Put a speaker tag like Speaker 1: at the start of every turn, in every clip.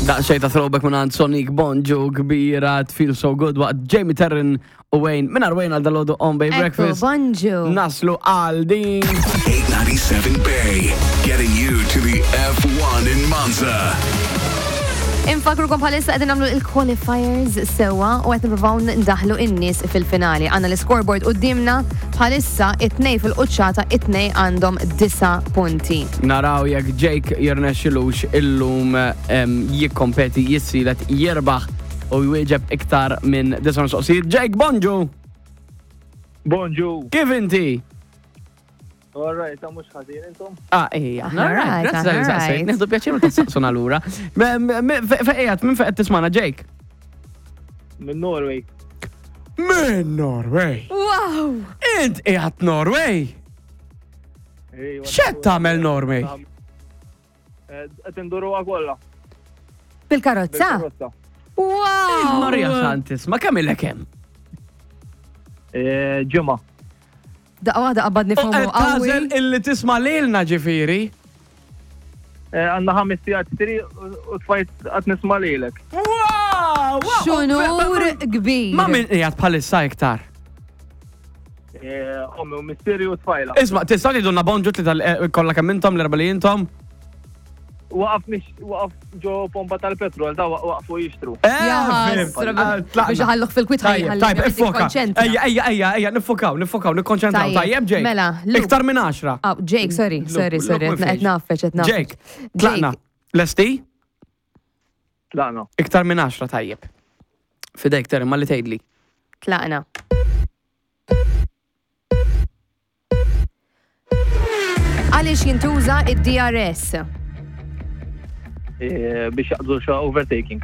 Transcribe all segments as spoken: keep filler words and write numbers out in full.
Speaker 1: Daqsxejn ta' throwback minn Sonic Bonġu kbira Feel So Good waqt Jamie Terran u Wayne. Minn Wayne għal dalgħodu on Bay
Speaker 2: Ekku,
Speaker 1: Breakfast.
Speaker 2: bonġu.
Speaker 1: Naslu għal din.
Speaker 3: eight ninety-seven Bay, getting you to the F one in Monza.
Speaker 2: Infakrukom bħalissa qegħdin nagħmlu il-qualifiers sewa u qed nippruvaw ndaħlu in-nies fil-finali. Għandna l-scoreboard qudiemna bħalissa, it-tnej fil-quċċata, it-tnej għandhom disa' punti.
Speaker 1: Naraw jekk Jake jirnexxilux illum em, jikkompeti, jissielet, jirbaħ u jwieġeb iktar minn disa' mistoqsijiet. Jake, bonġu!
Speaker 4: Bonġu.
Speaker 1: Kif inti?
Speaker 4: All right, ta' mhux ħażin, intom?
Speaker 1: Ah, ejja,
Speaker 2: Aħna right,
Speaker 1: grazzi tal-li
Speaker 2: aħna
Speaker 1: saqsejt.
Speaker 2: right.
Speaker 1: Nieħdu pjaċir meta saqsuna lura. Fejn minn fejn tismagħna, Jake?
Speaker 4: Minn Norway.
Speaker 1: Minn Norway.
Speaker 2: Wow!
Speaker 1: Int qiegħed Norway?
Speaker 4: Ejwa,
Speaker 1: X'qed tagħmel Norway?
Speaker 4: Eh, qed induruha kollha.
Speaker 2: Bil-karozza?
Speaker 4: Bil-karozza.
Speaker 2: Wow!
Speaker 1: Maria Santis, ma kemm ilek hemm?
Speaker 4: Eh, Ġimgħa.
Speaker 2: Daqqa waħda qabadni
Speaker 1: U qed
Speaker 2: FOMO
Speaker 1: tagħżel
Speaker 2: qawwi.
Speaker 1: illi tisma' lilna ġifieri.
Speaker 4: Eh, Għandna ħames sigħat triq u u tfajt qed nisma' lilek.
Speaker 1: Wow! Wow!
Speaker 2: X'unur kbir.
Speaker 1: Ma' min qiegħed bħalissa iktar?
Speaker 4: Eh, Ommi u missieri u tfajla.
Speaker 1: Isma', tista' tgħidulna bonġu li tal kollha kemm intom, l-erba' li intom?
Speaker 4: Waqaf mix waqaf ġo pompa tal-petrol, da waqfu jixtru.
Speaker 1: Eh,
Speaker 2: Ja,
Speaker 1: fhimt.
Speaker 2: ħasra,
Speaker 1: Ah, tlaqna.
Speaker 2: biex ħalluh fil-kwit.
Speaker 1: Tajjeb, tajjeb, iffoka. Ejja, ejja, ejja, ejja, niffokaw, niffokaw, nikkonċentraw.
Speaker 2: Tajjeb,
Speaker 1: Tajjeb, Jake.
Speaker 2: Mela, Luke.
Speaker 1: Iktar minn għaxra.
Speaker 2: Oh, Jake, sorry, sorry,
Speaker 1: Luke,
Speaker 2: sorry,
Speaker 1: Luke
Speaker 2: qed nafeċ, qed nafeċ.
Speaker 1: Jake, tlaqna. Lesti?
Speaker 4: Tlaqna.
Speaker 1: Iktar minn għaxra, tajjeb. Fidejk, Terry, ma li tgħidli.
Speaker 2: Tlaqna. Għaliex jintuża id-D R S?
Speaker 4: Eh, Biex jaqbdu xa overtaking.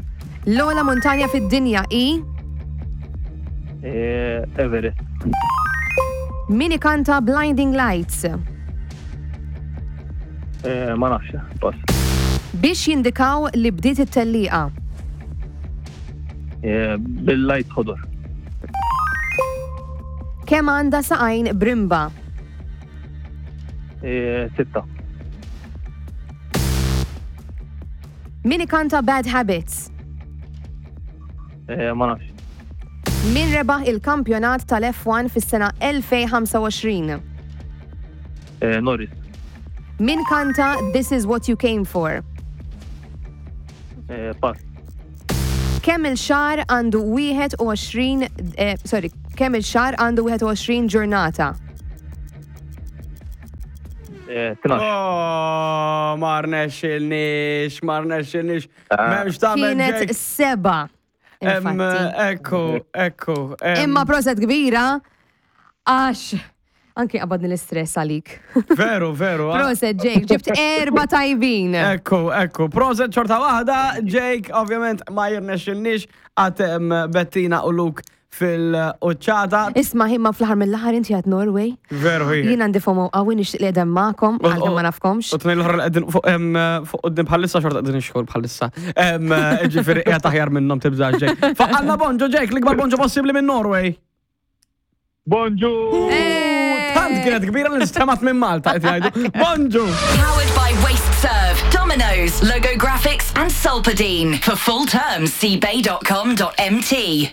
Speaker 2: L-ogħla montanja fid-dinja i?
Speaker 4: Eh, Everest.
Speaker 2: Min ikanta Blinding Lights?
Speaker 4: Eh, Ma nafx, pass.
Speaker 2: Biex jindikaw li bdiet it-tellieqa.
Speaker 4: Eh, Bil-light ħodor.
Speaker 2: Kemm għandha saqajn brimba?
Speaker 4: Eh, Sitta.
Speaker 2: Min ikanta Bad Habits?
Speaker 4: Eh, Ma nafx.
Speaker 2: Min rebaħ il-kampjonat tal-F one fis-sena elfejn u ħamsa u għoxrin?
Speaker 4: Eh, Norris.
Speaker 2: Min kanta This Is What You Came For?
Speaker 4: Eh, Pass.
Speaker 2: Kemm il-xahar għandu wieħed u għoxrin, eh, sorry, kemm il-xahar għandu wieħed u għoxrin ġurnata?
Speaker 4: Eh, Tnax.
Speaker 1: Oh, ma rnexxilniex, ma rnexxilniex. M'hemmx tagħmel,
Speaker 2: Kienet
Speaker 1: Jake.
Speaker 2: seba.
Speaker 1: Em,
Speaker 2: Infatti.
Speaker 1: Ekku, ekku. em,
Speaker 2: Imma proset kbira, għax anki qabadni l-istress għalik.
Speaker 1: Veru, veru. ah.
Speaker 2: Proset, Jake, ġibt erba tajbin.
Speaker 1: Ekku, ekku. Proset xorta waħda, Jake, ovvjament ma jirnexxilniex għad em, Bettina u Luke fil-quċċata.
Speaker 2: Isma', imma fl-aħħar mill-aħħar inti għad Norway.
Speaker 1: Veru hi.
Speaker 2: Jien għandi FOMO qawwi, nixtieq li qegħdem magħkom, għalkemm ma nafkomx.
Speaker 1: U tnejn l-oħra li qegħdin fuq em, fuq quddiem bħalissa xorta qegħdin ix-xogħol bħalissa. Em, Ġifieri qiegħed aħjar minnhom, tibżax, Jake. Faqqalna bonġu, Jake, l-ikbar bonġu possibbli minn Norway.
Speaker 4: Bonġu!
Speaker 1: Tant kienet kbira li nstemat minn Malta qed jgħidu. Bonġu!
Speaker 5: Powered by WasteServ, Domino's, Logo Graphics, and Solpadeine. For full terms, see bay dot com dot M T.